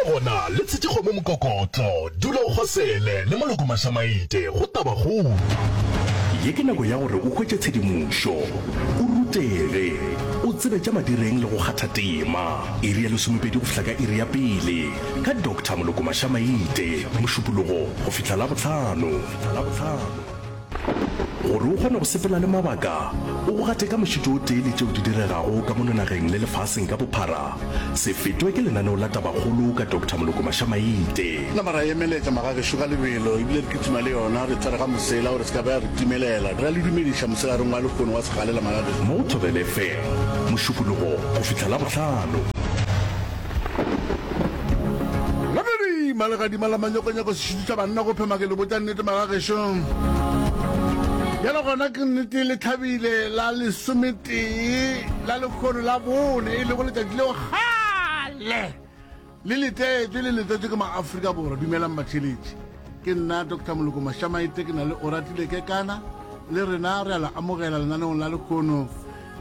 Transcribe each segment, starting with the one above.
Le gona le tshetše kgomo mokokotlo. Dula o kgosele le Moloko Mašamaite go Tabakgolo. Ye ke nako ya gore o hwetše tshedimošo, o rutege, o tsebe tša madireng le go kgatha tema. Iri ya lesomepedi go fihla ka iri ya pele ka Doctor Moloko Mašamaite, Mošupologo go fihla Labohlano. Gore o kgone go sepela le mabaka, o go gate ka mošito o tee le tšeo di diregago ka mono nageng le lefaseng ka bophara, se fetwe ke lenaneo la Tabakgolo ka Doctor Moloko Mašamaite. Nama ra emeletša magagešo ka lebelo ebile re kitima le yona, re tshwere ga mosela gore se ka ba ya re timelela. Re a le dumediša mosegareng wa lehono wa segalela magagešo. Mo go Thobela FM, Mošupologo go fihla Labohlano. Legadima, legadima la manyokonyoko sešutu sa banna go phema ke le botša nnete magagešo. Bjale gona ke nnete le thabile la lesometee la lekgono la bone e lego letšatši leo kgale le letetšwe le letetšwe ke maafrika borwa. Dumelang batheeletši, ke nna Doctor Moloko Mašamaite ke na le Oratile Kekana le rena re a le amogela lenaneong la lekgono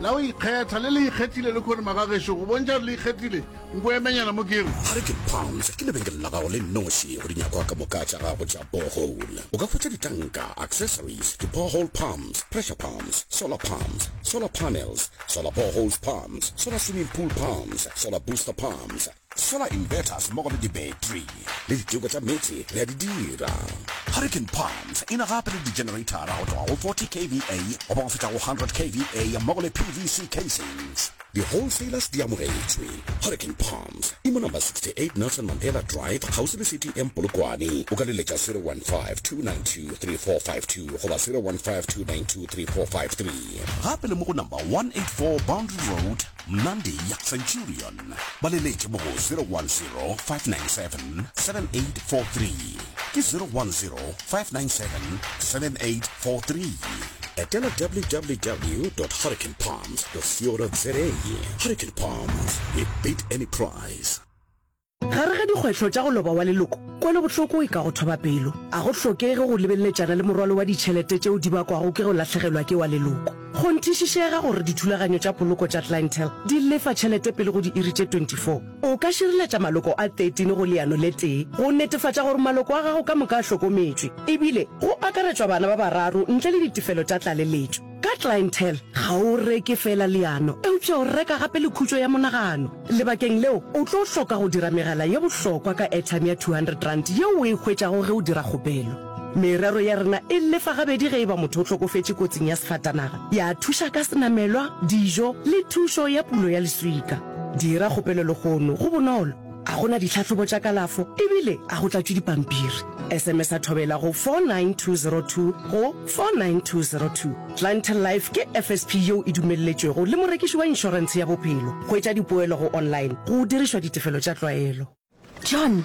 la go ikgetha le le ikgethile lekgono magagešo go bontšha gore le ikgethile Nko emenyana mo ke re. Hurricane Palms ke lebenkele la gago le nnoši go dinyakwa ka moka tša gago tša borehole. O ka hwetša ditanka, accessories, di-borehole pumps, pressure pumps, solar pumps, solar panels, solar boreholes pumps, solar swimming pool pumps, solar booster pumps, solar inverters mmogo le di-battery. Le diteko tša meetse re a di dira. Hurricane Palms e na gape le di-generator-a go tloga go 40 kVA goba go fihla go 100 kVA mmogo le PVC casings. Di-wholesalers di amogetšwe. Hurricane Palms e mo number 68 Nelson Mandela Drive kgauswi le CTM Polokwane. O ka leletša 015-292-3452 goba 015-292-3453. Gape le mo go number 184 Boundary Road, Mnandi, Centurion. Ba leletše mo go 010-597-7843. Ke 010-597-7843. Etela www.hurricanepalms .co.za Hurricane Palms, we beat any price. Gare ga dikgwetlho tša go loba wa leloko, kwelobohloko e ka go thoba pelo. A go hlokege go lebeleletšana le morwalo wa ditšhelete tšeo di bakwago ke go lahlegelwa ke wa leloko. Kgonthišišega gore dithulaganyo tša poloko tša Clientele di lefa tšhelete pele go diiri tše 24. O ka šireletša maloko a 13 go leano le tee go netefatša gore maloko a gago ka moka a hlokometšwe, ebile go akaretšwa bana ba bararo ntle le ditefelo tša tlaleletšo. Ka Clientele, ga o reke feela leano, eupša o reka gape le khutšo ya monagano. Lebakeng leo, o tlo hloka go dira megala ye bohlokwa ka airtime ya R200 yeo o e hwetšago ge o dira kgopelo. Merero ya rena e lefa gabedi ge e ba motho o hlokofetše kotsing ya sefatanaga, ya thuša ka senamelwa, dijo le thušo ya pulo ya leswika. Dira kgopelo lehono, go bonolo, ga go na ditlhahlobo tša kalafo ebile ga go tlatšwe dipampiri. SMS-a Thobela go 49202 go 49202. Clientele Life ke FSP yeo e dumelletšwego le morekiši wa inšorentshe ya bophelo. Hwetša dipoelo go online go dirišwa ditefelo tša tlwaelo. John,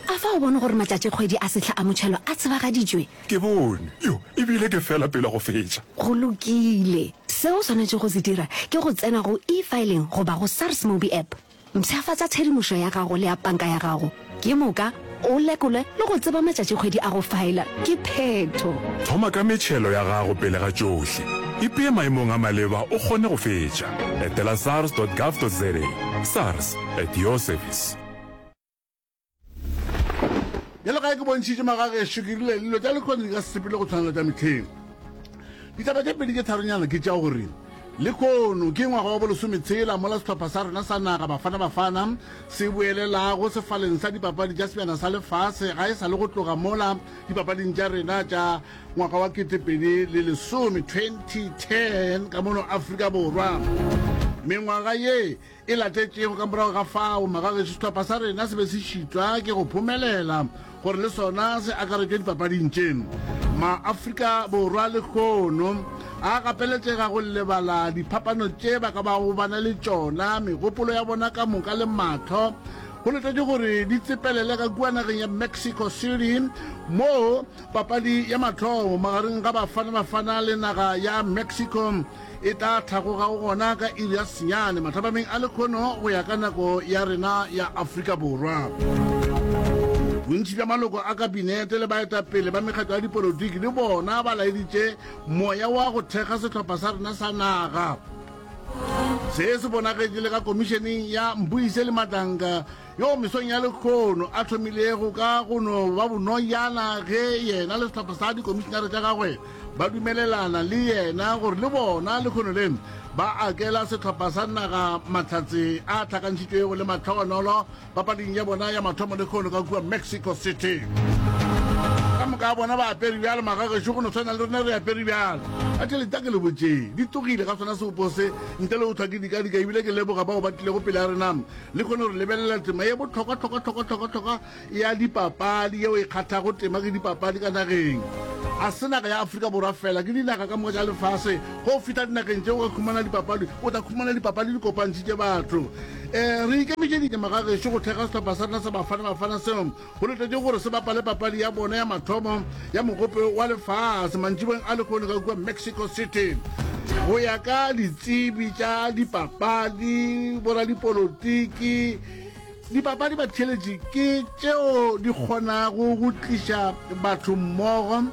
A fa o bone gore matšatšikgwedi a sehla a motšhelo a tsebagaditšwe? Ke bone. Yo, e bile ke fela pele go fetša. Go lokile. Se o swanetšego go se dira ke go tsena go eFiling goba go SARS MobiApp. Mpshafatša tshedimošo ya gago le ya panka ya gago, ke moka o lekole le go tseba matšatšikgwedi a go faela. Ke phetho. Thoma ka metšhelo ya gago pele ga tšohle. Ipee maemong a maleba o kgone go fetša. Etela sars.gov.za. SARS, at your service. Bjalo ka ge ke bontšhitše magagešo, ke rile dilo tša lehono di ka se sepele go tshwana le tša mehleng. Ditaba tše pedi tše tharonyana ke tša gore lehono ke ngwaga wa bolesometshela mola sehlopha sa rena sa naga Bafana Bafana se boelelago sefaleng sa dipapadi tša Sebjana sa Lefase ga e sa le go tloga mola dipapading tša rena tša ngwaga wa 2010, 2010, ka mono Afrika Borwa. Mengwaga ye e latetšego ka morago ga fao, magagešo sehlopha sa rena se be se šitwa ke go phomelela gore le sona se akaretšwe dipapading tše. Ma-Afrika Borwa lehono a gapeletšega go lebala diphapano tše ba ka bago ba na le tšona, megopolo ya bona ka moka le mahlo go letetšwe gore di tsepelele ka kua nageng ya Mexico City moo papadi ya mathomo magareng ga Bafana Bafana le naga ya Mexico e tla hlagogago gona ka iri ya senyane mathapameng a lekgono go ya ka nako ya rena ya Afrika Borwa. Bontši bja maloko a kabinete le baetapele ba mekgatlo ya dipolotiki le bona ba laeditše moya wa go thekga sehlopha sa rena sa naga. Se se bonagetše le ka komišeneng ya Mbuyiseli Madlanga yo mesong ya lekgono a thomilego ka go no ba bonojana ge yena le sehlopha sa dikomišenare tša gagwe ba dumelelana le yena gore le bona lekgono le ba akela sehlopha sa naga mahlatse a hlakantšhitšwego le mahlogonolo papading ya bona ya mathomo lekgono ka kua Mexico City. Ka moka a bona ba apere bjalo, magagešo go no tshwana le rena re apere bjalo. A tšhelete a ke le botšeng di tlogile ga sona seopo se ntle le go hlwa ke dikadika ebile ke leboga bao ba tlilego pele a rena le kgone gore lebelela tema ye bohlokwa hlokwa hlokwa hlokwa hlokwa ya dipapadi yeo e kgathago tema ke dipapadi ka nageng. A se naga ya Afrika Borwa fela, ke dinaga ka moka tša lefase. Ge o fihla dinageng tšeo o ka khumana dipapadi, o tla khumana dipapadi di kopantšhitše batho. Um re ikemišeditše magagešo go thekga sehlopha sa rena sa Bafana Bafana seo go letetšego gore se bapale papadi ya bona ya mathomo ya Mogope wa Lefase mantšiboeng a lehono ka kua Mexico City. Go ya ka ditsebi tša dipapadi, boradipolotiki, Dipapadi batheeletši ke tšeo di kgonago go tliša batho mmogo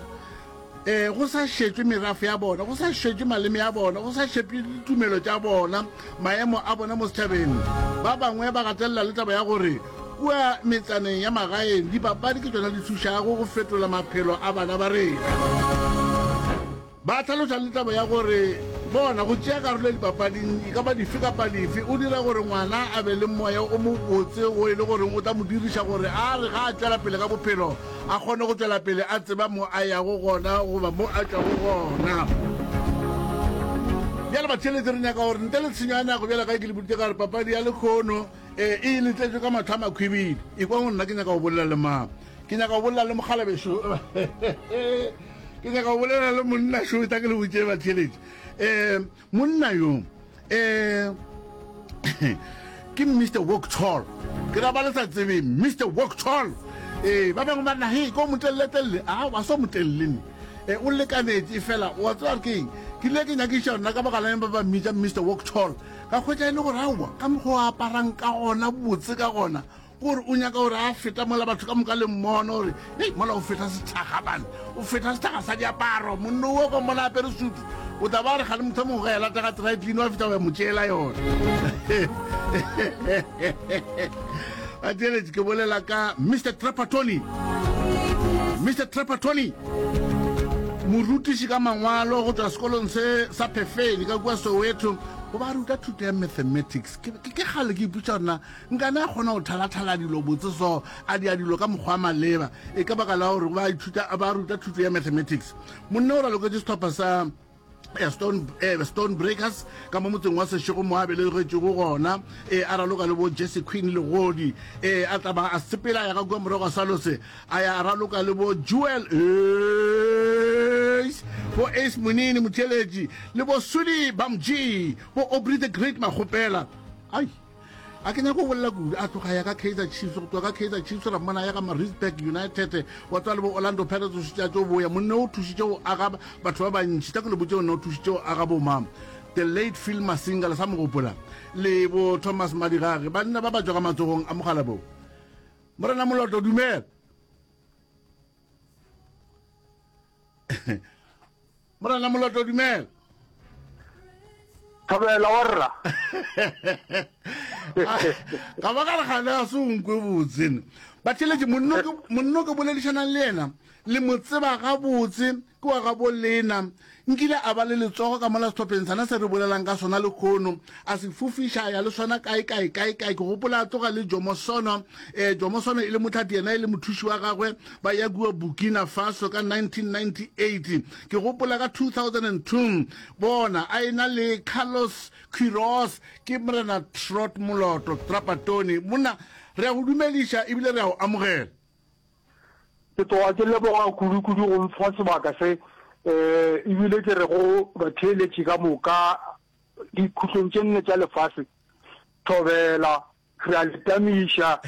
um go sa šetšwe merafo ya bona, go sa šetšwe maleme a bona, go sa šetšwe ditumelo tša bona, maemo a bona mo setšhabeng. Ba bangwe ba gatelela le taba ya gore kua metsaneng ya magaeng dipapadi ke tšona di thušago go fetola maphelo a bana ba rena. Ba hlaloša le taba ya gore bona go tšea karolo dipapading e ka ba dife kapa dife o dira gore ngwana a be le moya o mobotse wo e le goreng o tla mo diriša gore a re ga a tšwela pele ka bophelo a kgone go tšwela pele a tseba mo a yago gona goba mo a tšwago gona. Bjale batheeletši re nyaka gore ntle le tshenyo ya nako bjale ga ke le boditše ka gore papadi ya lekhono e e letletšwe ka mahlo a makhwibidi. Ekwa go nna ke nyaka go bolela le mang? Ke nyaka go bolela le mokgalabešo. Ke nyaka go bolela le monna šo tla ke le botše batheeletši. Um monna yo um ke Mr Walk Tall. Ke ra ba le sa tsebeng Mr Walk Tall. Ee, ba bangwe ba na he ko moteleletelele a wa so motelele ne. E, o lekanetše fela wa tseba ke eng? Ke ile ke nyakiša nna ka baka la eng ba ba mmitša Mr Walk Tall. Ka hwetša e le gore aowa ka mokgwa o aparang ka gona botse ka gona Gore o nyaka gore a feta mola batho ka moka le mmona gore hei mola o feta sethakga bane o feta sethakga sa diaparo monno o ka mmona apere sutu o tla ba re gane motho mongwe ga e lata ga dry clean wa feta wa mo tšeela yona a ke bolela ka Mr Trapattoni Mr Trapattoni morutiši ka mangwalo go tšwa sekolong se sa Phefeni ka kua Soweto o ba ruta thuto ya mathematics ke kgale ke ipotša gore na Nkane a kgona go thalathala dilo botse so, a dia dilo ka mokgwa wa maleba, e ka baka la gore ba ithuta, ba ruta thuto ya mathematics. Monna o raloketše sehlopha sa eh, Stone, eh, Stone Breakers ka mo motseng wa Seshego mo a belegetšego gona, eh, a raloka le bo Jesse Queen Legodi, eh, a tla ba a sepela a ya ka kua morago ga Salose, a ya a raloka le bo Jewel Ace, bo Ace Monini Motheeletši, le bo Sudi Bamji, bo Aubrey the Great Makgopela. Ai! A ke nyake go bolela kudu. A tloga ya ka Kaizer Chiefs, go tloga ka Kaizer Chiefs ra mmona ya ka Maritzburg United, wa tswa le bo Orlando Pirates o šetše a tšo boya. Monna o thušitše go aga batho ba bantši. Tla ke le botše monna o thušitše go aga bo mang. The late Phil Masinga le sa mo gopola? Le bo Thomas Madigage, banna ba ba tšwa ka matsogong a mogala bo. Morena Moloto dumela. Morena Moloto dumela. Thobela wa rra. Ga ba ka re gane a se o nkwe botse ne. Batheeletši monno ke monno ke boledišanang le yena le mo tseba gabotse ke wa gabo lena. Nkile a ba le letsogo ka mola sehlopheng sana se re bolelang ka sona lekhono a se fofiša a ya le sona kae kae kae kae. Ke gopola a tloga le Jomo Sono eh Jomo Sono e le motlhati yena e le mothuši wa gagwe ba ya kua Burkina Faso ka 1998. Ke gopola ka 2002 bona a ena le Carlos Queiroz ke Morena Trot Moloto Trapattoni. Monna re a go dumediša ebile re a go amogela. Ke tloga ke leboga kudu-kudu go mpha sebaka se um ebile ke re go batheeletši ka moka dikhutlong tše nne tša lefase, thobela, re a le tamiša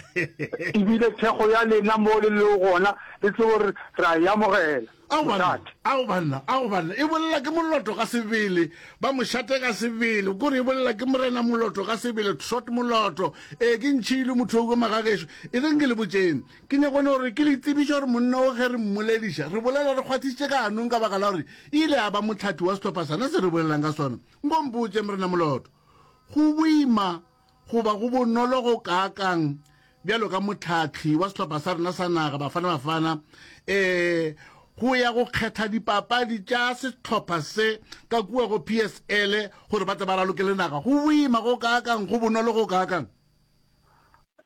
ebile thekgo ya lena mo le lego gona le tsebe gore re a e amogela. Ao banna, ao banna, ao banna, e bolela ke Moloto ka sebele, ba mošate ka sebele, kore e bolela ke Morena Moloto ka sebele, Trot Moloto. Ee, ke ntšhile motho o magagešo. E reng ke le botšeng, ke nyako no gore ke le tsebiše gore monna o ge re mmolediša, re bolela re kgwathišitše ka ganong ka baka la gore e ile ya ba mohlathi wa sehlopha sana se re bolelang ka sona. Nko mpotše, Morena Moloto. Go boima goba go bonolo go kaakang bjalo ka mohlahli wa sehlopha sa rena sa naga, Bafana Bafana, um go ya go kgetha dipapadi tša sehlopha se ka kua go PSL gore ba tle ba raloke le naga? Go boima go kaakang, go bonolo go kaakang?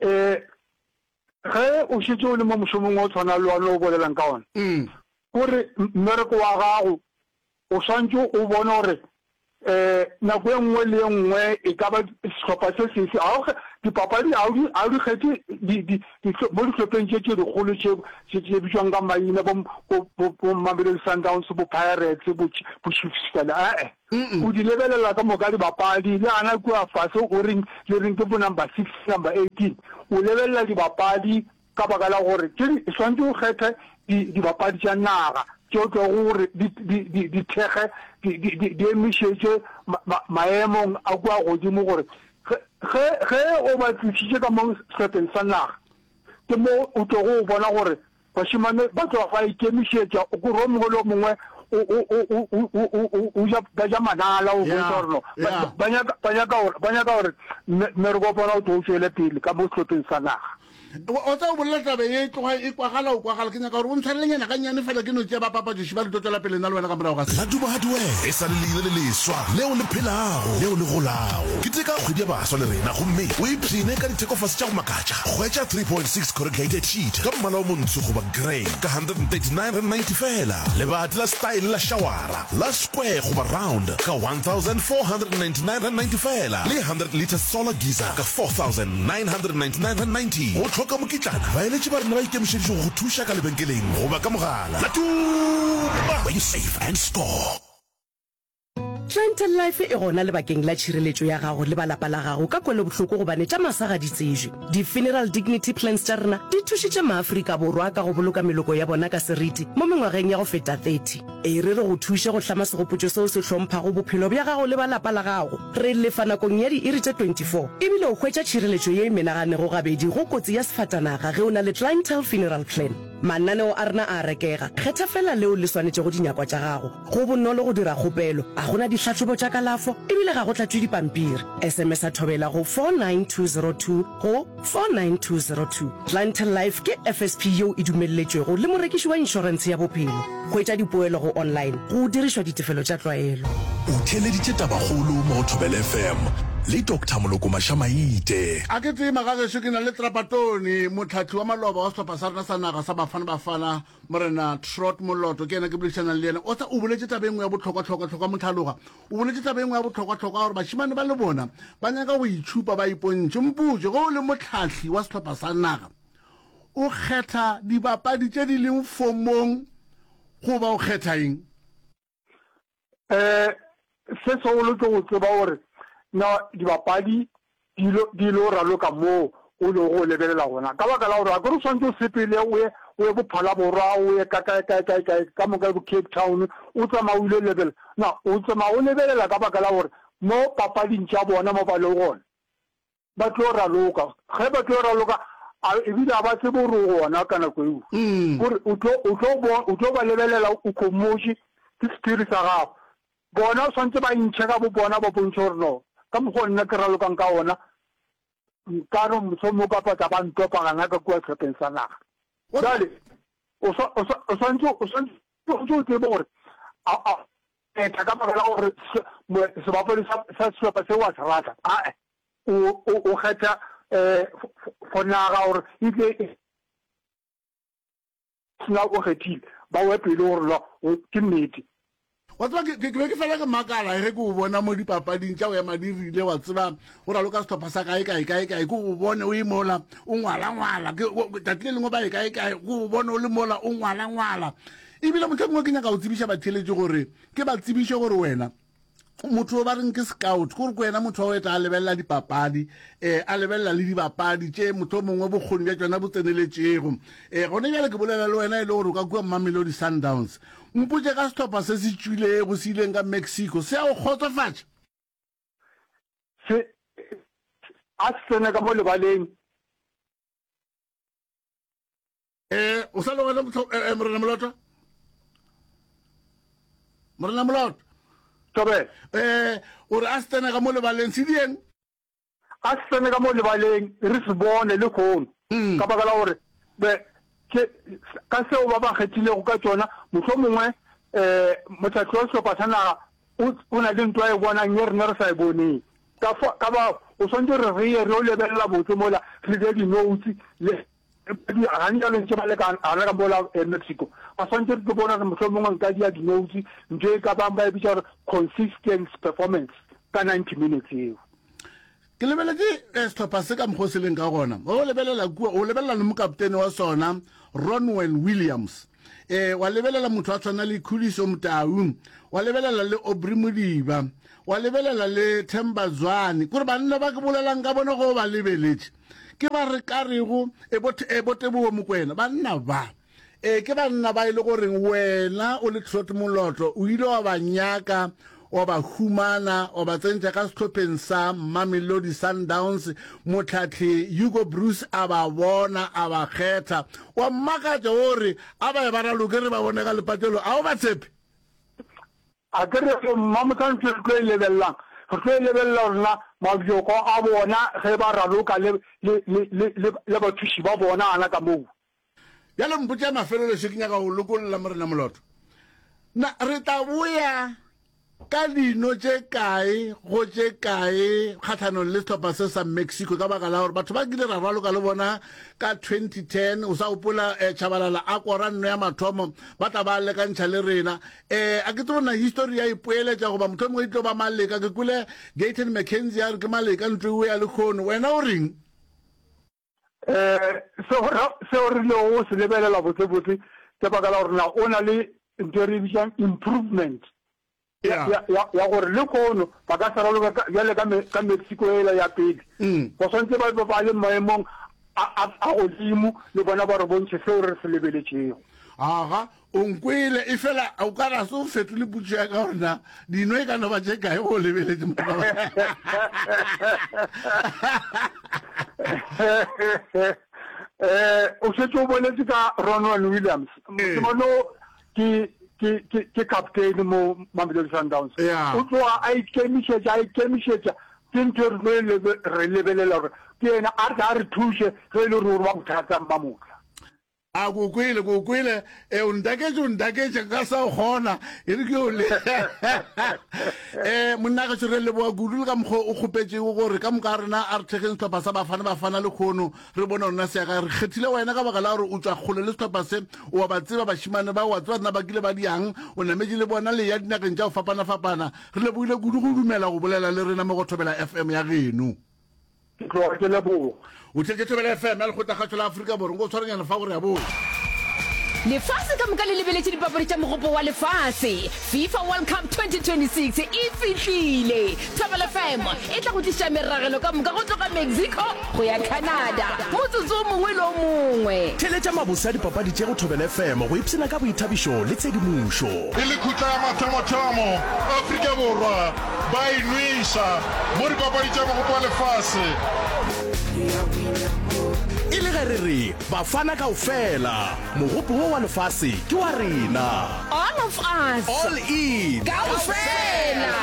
Um ge o šetše o le mo mošomong o tshwana le wa o bolelang ka ona, kore mmereko wa gago O swanetše o bone gore um nako e nngwe le e nngwe e ka ba sehlopha se sefe, ga o dipapadi ga o di ga o di kgethe di di di mo dihlopheng tše tše dikgolo tše tše tše bitšwang ka maina bo bo bo bo Mamelodi Sundowns, bo Pirates, bo bo Chiefs fela, e-e. O di lebelela ka moka dibapadi, le gana kua fase o reng le reng ke bo number 6, number 18, o lebelela dibapadi Ka baka la gore tše di swanetše o kgethe di, dibapadi tša naga tše o tlogo gore di, di, di, di thekge, di, di, di, di emišetše ma, ma, maemong a kua godimo gore ge, ge, ge o ba tlišitše ka mo sehlopheng sa naga, ke mo o tlogo o bona gore bašemane ba tloga ba ikemišetša, o kore o mongwe le o mongwe o, o, o, o, o, o, o, o, o ja, ba ja manala o bontšha gore no, ba, Yeah. ba nyaka, ba nyaka gore, ba nyaka gore mme, mmereko wa bona o tlo o tšwele pele ka mo sehlopheng sa naga. O tsa o bolela taba ye e tloga e kwagala o kwagala. Ke nyaka gore o ntshwarelenyana gannyane fela ke no tšea bapapatšoši ba re tlo tšwela pele nna le wena ka morago ga se. Laduma Hardware e sa le leina le leswa leo le phelago, leo le golago. Keteka kgwedi ya baswa le rena gomme o ipshine ka dithekofase tša go makatša. Hwetša 3.6 corrugated sheet ka mmala o montsho goba grey ka R139.90 feela. Lebati la style la šawara la square goba round ka R1,499.90 feela le 100 litre solar geyser ka R4,999.90. Go hloka mokitlana, baeletši ba rena ba ikemišeditše go go thuša ka lebenkeleng goba ka mogala. Latuma! Where you save and score. Clientele Life e gona lebakeng la tšhireletšo ya gago le ba lapa la gago ka kwelobohloko gobane tša masa ga di tsejwe. Di-Funeral Dignity Plans tša rena di thušitše maAfrika Borwa ka go boloka meloko ya bona ka seriti mo mengwageng ya go feta 30. E re re go thuše go hlama segopotšo seo se hlomphago bophelo bja gago le ba lapa la gago. Re lefa nakong ya diiri tše 24 ebile o hwetša tšhireletšo ye e menaganego gabedi go kotsi ya sefatanaga ge o na le Clientele Funeral Plan. Mananeo a rena a a rekega, kgetha feela leo le swanetšego dinyakwa tša gago. Go bonolo go dira kgopelo, ga go na dihlahlobo tša kalafo e bile ga go tlatšwe dipampiri. SMS-a Thobela go 49202 go 49202. Clientele Life ke FSP yeo e dumelletšwego le morekiši wa inšorentshe ya bophelo. Hwetša dipoelo go online go dirišwa ditefelo tša tlwaelo. O theeleditše Tabakgolo mo go Thobela FM le Doctor Moloko Mašamaite. A ke tsee magagešo ke na le Trapatone, mohlahli wa maloba wa sehlopha sa rena sa naga sa Bafana Bafana. Morena Trot Moloto ke yena ke boledišanang le yena. O tsa o boletše taba e nngwe ya bohlokwa-hlokwa-hlokwa Mohlaloga. O boletše taba e nngwe ya bohlokwa-hlokwa gore bašemane ba le bona ba nyaka go itšhupa ba ipontšhe. Mpotše, ge o le mohlahli wa sehlopha sa naga, o kgetha dibapadi tše di leng fomong goba o kgetha eng? Um se segolo ke go tseba gore na dibapadi di lo di lo raloka moo o lego go lebelela gona. Ka baka la gore akere o swanetše o sepele o ye o ye bo Phalaborwa, o ye ka kae kae kae kae ka moka bo Cape Town, o tsamaya o ile lebelela. Na o tsamaya o lebelela ka baka la gore mo papading tša bona mo ba lego gona Ba tlo raloka. Ge ba tlo raloka, a ebile a ba tsebe gore o gona ka nako eo. Gore o tlo, o tlo bo, o tlo ba lebelela o khomotše, ke sephiri sa gago. Bona o swanetše ba intšhe ka bo bona ba bontšhe gore no, ka mokgwa o nna ke ralokang ka ona, nka no mohlomongwe ka patla ba ntopa gana ka kua sehlopheng sa naga. Bjale, o swa, o swa, o swanetše, o swanetše, o swanetše o tsebe gore a, a etha ka baka la gore se, sebapadi sa, sa sehlopha seo wa se rata. Ae. O, o, o kgetha eh, for naga gore e tle e sena o kgethile ba we pele gore no ke nnete. Wa tseba, ke, ke, ke be ke fela ke makala ge ke o bona mo dipapading tša go ema di rile, wa tseba, o raloka sehlopha sa kae, kae, kae, kae, ke o bone o e mola, o ngwala-ngwala, ke, o, tšatši le lengwe ba ye kae, kae, ke o bone o le mola, o ngwala-ngwala. Ebile mohlomongwe ke nyaka go tsebiša batheeletši gore, ke ba tsebiše gore wena, motho o ba reng ke scout, ke gore ke wena motho wa go eta a lebelela dipapadi, um a lebelela le dibapadi tše motho o mongwe bokgoni bja tšona bo tseneletšego. Um gone bjale ke bolela le wena e le gore o ka kua Mamelodi Sundowns. Mpotše ka sehlopha se se tšwilego se ileng ka Mexico, se a go kgotsofatša? Se a se tsene ka mo lebaleng. Eh, o sa le gona eh, eh, Morena Moloto? Morena Moloto. Thobela. Eh, o re a se tsene ka mo lebaleng se dieng? A se tsene ka mo lebaleng re se bone lehono, ka baka la gore be ke ka seo ba ba kgethilego ka tšona, mohlomongwe um mohlahli wa sehlopha sa naga o, o na le nto a e bonang ye rena re sa e boneng. Ka fa, ka ba o swanetše gore re ye re yo lebelela botse mola re dire di-notes le gane bjalo ntše ba le ka gana ka mola Mexico. Ba swanetše re tlo bona gore mohlomongwe nka dia di-notes ntho e ka bang ba e bitša gore consistent performance ka 90 minutes yeo. Ke lebeletše eh, sehlopha se ka mokgwa o se leng ka gona. O lebelela kua, o lebelela le mokaptene wa sona, Ronwen Williams. Eh, wa lebelela motho a tshwana le Khuliso Motau, wa lebelela le Aubrey Modiba, wa lebelela le Themba Zwane. Kore banna ba ke bolelang ka bona go ba lebeletše. Ke ba re ka rego e bo e bo Teboho Mokoena, banna ba. Ee, ke banna ba e le goreng wena o le Trot Moloto o ile wa ba nyaka, wa ba humana, wa ba tsentša ka sehlopheng sa Mamelodi Sundowns, mohlahli Hugo Broos a ba bona, a ba kgetha. Wa mmakatša o re a ba ye ba raloke re ba bone ka lepatlelo, a o ba tshepe? A ke re Mmamohla ntho e re tlo e lebelelang, re tlo e lebelela gore na mabjoko a bona ge ba raloka le, le, le, le, le, le bathuši ba bona gana ka moo. Bjale mpotše ya mafelelo še, ke nyaka go lokolla Morena Moloto. Na re tla boya ka dino tše kae go tše kae kgahlanong le sehlopha se sa Mexico ka baka la gore batho ba kile ra raloka le bona ka 2010 o sa gopola eh, Tshabalala a kora nno ya mathomo ba tla ba lekantšha le rena eh a ke tsebe na history ya ipoeletša goba motho mongwe e tlo ba maleka ke kwele Gayton McKenzie a re ke maleka ntlo e ya lekgono wena o reng Um seo seo re rilego go se lebelela botsebotse ke baka la gore na o na le ntho e re e bitsang improvement ya, ya, ya, ya gore le kono ba ka se raloka ka, bjale ka, ka Mexico ela ya pele. Mm. Ba swantse ba be ba le maemong a, a, a godimo le bona ba re bontšhe seo re se lebeletšego. Aga, O nkwele, efela o ka ra se o fetole potšo ya ka gore na dino e ka no ba tše kae go lebeletše Eh, o šetše o boletše ka Ronwen Williams. Mošemane o ke ke ke ke captain mo Mamelodi Sundowns. O tloga a ikemišetša, a ikemišetša ke ntho e re tlo e re lebelela gore ke yena a re a re thuše ge e le gore o ba bothata Mmamotla. A ko kwele, ko kwele, e o ntaketše, o ntaketše, nka sa o kgona, e re ke o le. E, monna gešo re leboga kudu le ka mokgwa o kgopetšego gore ka moka rena a re thekgeng sehlopha sa Bafana Bafana lekgono, re bone rona se ya kae. Re kgethile wena ka baka la gore o tšwa kgole le sehlopha se, o a ba tseba bašemane ba, o a tseba rena ba kile ba diang, o nametše le bona le ya dinageng tša go fapana-fapana. Re lebogile kudu go dumela go bolela le rena mo go Thobela FM ya geno. Ke tloga ke leboga. O theetše Thobela FM ya Lekgotlakgašo la Afrika Borwa. Nko tshwarenyana fa gore ya boa. Lefase ka moka le lebeletše dipapadi tša Mogopo wa Lefase. FIFA World Cup 2026 e fihlile! Thobela FM e tla go tliša meragelo ka moka go tloga Mexico go ya Canada motsotso o mongwe le o mongwe. Theeletša mabose a dipapadi tše go Thobela FM go ipshina ka boithabišo le tshedimošo. E le khutla ya mathomothomo, Afrika Borwa ba e nweša mo dipapadi tša Mogopo wa Lefase. E le ge re re Bafana kaofela, mogopo wo wa lefase ke wa rena. All of us. All in. Kaofela.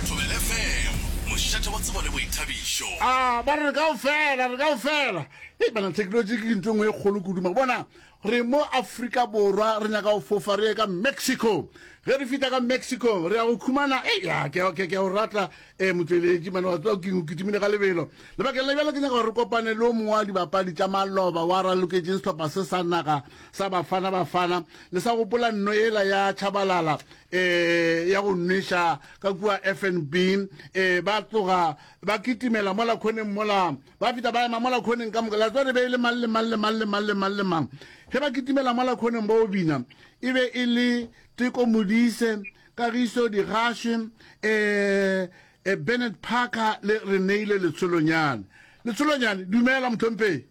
Thobela FM, mošate wa tsebo le boithabišo. A ba re re kaofela, re kaofela. Hei bana, technology ke ntho e nngwe e kgolo kudu. Ma bona, Re mo Afrika Borwa, re nyaka go fofa re ye ka Mexico. Ge re fihla ka Mexico, re ya go khumana, ei, ya, ke, ke, ke a o rata, eh, motšweletši, mane wa tseba keng, o kitimile ka lebelo. Lebakeng la bjale ke nyaka gore re kopane le o mongwe wa dibapadi tša maloba wa raloketšeng sehlopha se sa naga sa Bafana Bafana. Le sa gopola nno yela ya Tshabalala, eh, ya go nweša ka kua FNB, eh, ba tloga ba kitimela mola khoneng mola Ba fihla ba ema mola khoneng ka moka. La tseba re be e le mang le mang le mang le mang le mang le mang. Ge ba kitimela mola khoneng ba o bina, e be e le Teko Modise, Kagiso Digashe, eh, eh, Bernard Parker le Reneilwe Letsholonyane. Letsholonyane, dumela mohlomphegi.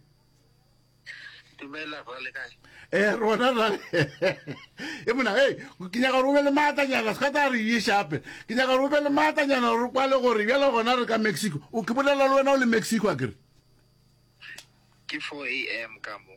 Dumela rra le kae? Eh rona rra. E mona hey ke nyaka gore o be le maatlanyana se ka tla re ye shape. Ke nyaka gore o be le maatlanyana gore kwale gore bjale gona re ka Mexico. O ke bolela le wena o le Mexico a kere? Ke 4 am ka mo.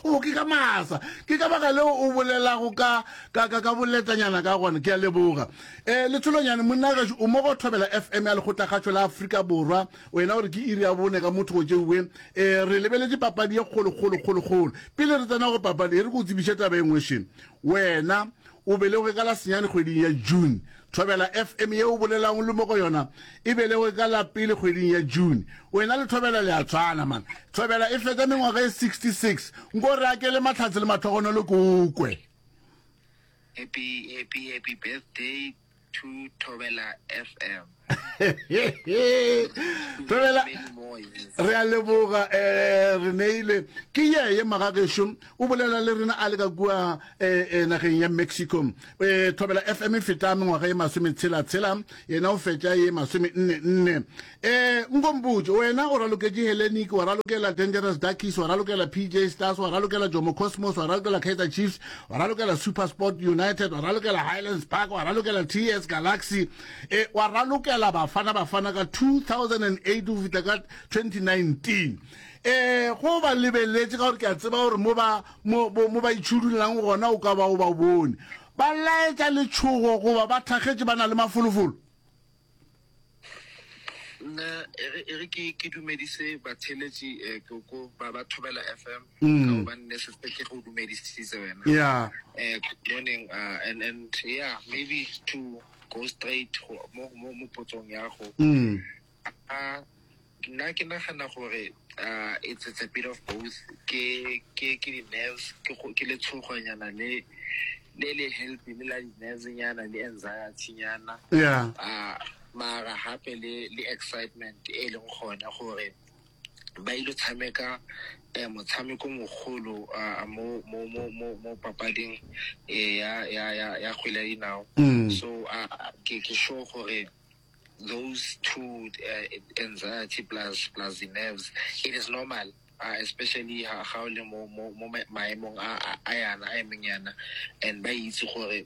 O ke ka masa. Ke ka baka leo o bolelago ka ka ka ka boletanyana ka gona. Ke a leboga. Eh Letsholonyane monna gešo o mo go Thobela FM ya Lekgotlakgašo la Afrika Borwa. Wena o re ke iri ya bone ka motho go tšeuwe. Eh re lebeletše papadi ye kgolo kgolo kgolo kgolo. Pele re tsena go papadi e re ke o tsebiše taba e nngwe še. Wena o belegwe ka la senyane kgweding ya June. Thobela FM ye o bolelago le mo go yona e belegwe ka la pele kgweding ya June. Wena le Thobela le a tshwana man. Thobela e fetša mengwaga e 66. Nko re akele mahlatse le mahlogonolo ke o kwe. Happy happy happy birthday to Thobela FM. Thobela re a leboga eh re neile ke yeye magagešo o bolela le rena a le ka kua eh, eh, nageng ya Mexico eh Thobela FM e feta mengwaga ye masometshela tshela yena o fetša ye masome nne nne eh nkompotše wena o raloketše Hellenic wa ralokela Dangerous Duckies wa ralokela PJ Stars wa ralokela Jomo Cosmos wa ralokela Kaizer Chiefs wa ralokela SuperSport United wa ralokela Highlands Park wa ralokela TS Galaxy e wa ralokela Bafana Bafana ka 2008 go fihla ka 2019 eh go ba lebeletše ka gore ke a tseba gore mo ba mo mo ba itšhudulang gona o ka ba o ba bone ba laetša letšhogo goba ba thakgetše ba na le mafolofolo Nna e re e re ke ke dumedise batheeletši eh, ko ko ba ba Thobela FM mm. ka gobane ne se ke go dumedisitse wena. Yeah. Eh, good morning uh, and and yeah, maybe to go straight go mo mo mo potsong ya go. Mm. Uh, nna ke nagana gore uh, it's, it's a bit of both ke ke ke di-nerves ke go- ke letshogonyana le le le healthy le la di-nerves nyana le anxiety nyana Yeah. uh, mara gape le le excitement e leng gone gore ba ile tshameka eh, motshameko mogolo uh, mo mo mo mo mo papading eh, ya ya ya ya kgwele ya dinao Mm. so uh, ke ke sure gore those two uh, anxiety plus plus the nerves it is normal uh, especially ha ga o le mo mo mo maemong a a yana a emeng yana and ba itse gore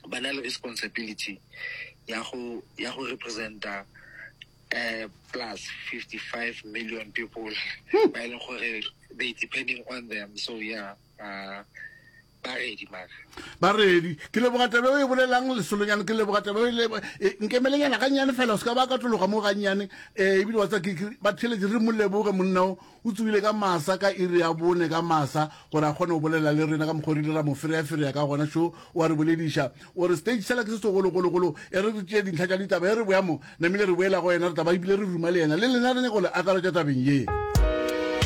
ba na le responsibility ya go ya go representa uh, plus 55 million people ba e leng gore they depending on them so yeah uh, ba ready mara ba ready ke leboga taba e bolelang lesolonyane ke leboga taba e e, nkemelenyana gannyane fela o se ka ba ka tologa mo gannyane um ebile wa tsa ba theletše re mo leboge monna o o tsogile ka masa ka iri ya bone ka masa gore a kgone go bolela le rena ka mokgwa re ile ra mo fereaferea ka gona šo o a re bolediša o re stage sela ke se segologologolo e re re tšee dintlha tša ditaba e re boya mo namile re boela go yena re taba ebile re ruma le yena le lena re nyaka go le akaretša tabeng ye.